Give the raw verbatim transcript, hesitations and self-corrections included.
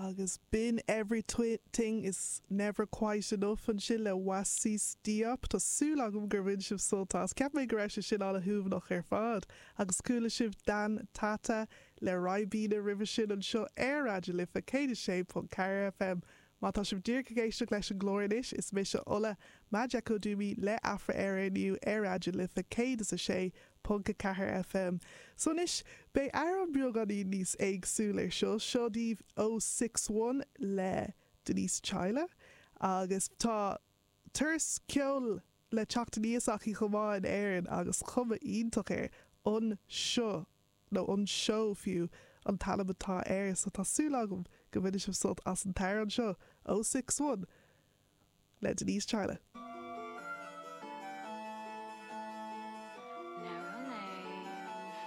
Agus b'in Everything is never quite enough ansin le Wasis Diop Tá súil agam gur bhain sibh sult as Ceap mé go raibh sé sin an-shuaimhneach ar fad agus chuala sibh Dan Tata le Ribena roimhe sin anseo ar Raidió na Life céad a sé ponc ceathair FM. Má tá sibh díreach ag éisteacht leis an gclár anois is mise Ola Majekodunmi le Afra Éire inniu ar Raidió na Life céad is a sé ponc a ceathair FM. So anois beidh amhrán beagáinín níos éagsúla ar seo seo daoibh ó six one le Denise Chaila agus tá turas ceoil le teacht aníos aici chomh maith in Éirinn agus cuma iontach air an seo nó an seó fiú an t-ainm atá air so tá súil agam go mbainfidh sibh sult as an t-amhrán seo ó six one le Denise Chaila.